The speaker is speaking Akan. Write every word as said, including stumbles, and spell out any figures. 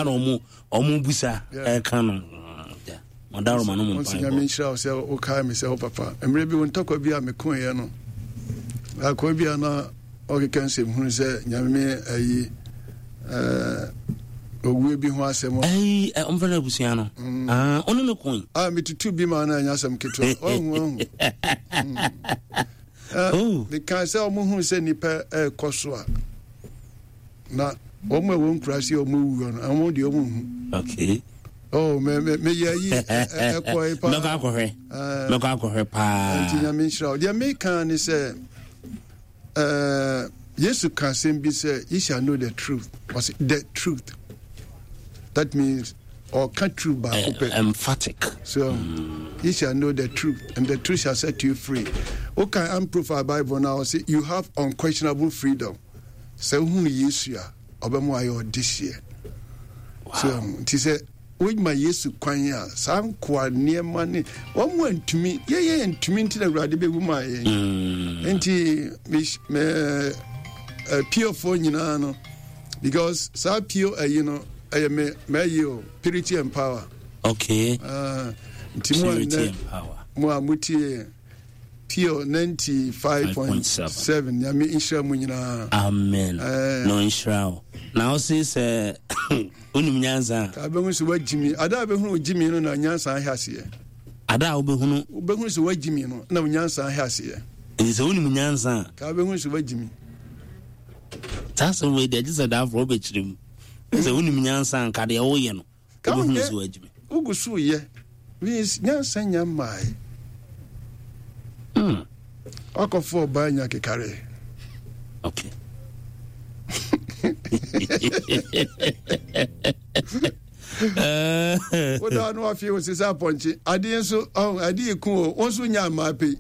Ana ɔmo ɔmo busa ɛka no madaroma no mo. Mpaebɔ. Nyame nhyira wo sɛ wokae me sɛ wo papa. Mmerɛ bi wo ntɔkwa bi a mekoeɛ no, akoa bi a na ɔkeka nsɛm hunu sɛ Nyame ayi owuo bi ho asɛm. Ɛyi ɔmfrɛ no abusua no, ɔne no koe. Ah, metutu bi ma no, ɛnyɛ asɛm ketewa. Ɔhu ɔhu meka sɛ ɔmo hu sɛ nnipa ɛrekɔ so a, na wɔn a wɔn nkura se wɔn wu no, wɔn deɛ wɔn hu. Okay. Oh, me me me yɛ yi ɛkɔ yi paa. Mɛkɔ akɔhwɛ. Mɛkɔ akɔhwɛ paa. Nti Nyame nhyira wo. Deɛ meka ne sɛ ɛɛ Yesu ka asɛm bi sɛ, "You shall know the truth." Ɔsɛ the truth. That means ɔka truth baako pɛ. Emphatic. So mm. you shall know the truth and the truth shall set you free. Okay, Amplified Bible now say you have unquestionable freedom. Sɛ wohunu Yesu a, ɔbɛma ayɛ ɔdehyeɛ. So nti sɛ woma Yesu kwan a, saa nkoa nneɛma ne wɔn mu antumi yɛyɛ ntumi, nti na Awurade bɛwu maa yɛn. mm. Nti piofoɔ nyinaa no, because saa pio ayi no ɛyɛ me mɛyi o, purity and power. Okay. uh, nti mo a nnɛ mo a motie Pure ninety-five point seven, Nyame nhyira mu nyinaa. Amen. uh, na ɔnhyira wo. Na wo se sɛ wonim nyansa. Ka bɛhu sɛ woagyimi. Ada a bɛhunu wogyimi no na nyansa ahɛ aseɛ. Ada a wobɛhunu wobɛhunu sɛ woagyimi no na nyansa ahɛ aseɛ. Nti sɛ wonim nyansa a, ka bɛhunu sɛ woagyimi. Saa asɛm wei deɛ, gye sɛ daaforɔ wobɛkyerɛ mu sɛ wonim nyansa nka deɛ woyɛ no, wobɛhunu sɛ woagyimi. Wogu so yɛ means nyansa nya mmae. mm. Wakɔfo ɔbaa nya kekare. Okay. Woda no afei wo sesa apɔnkye adeɛ nso adeɛ ku o, wo nso nya mmaa pei.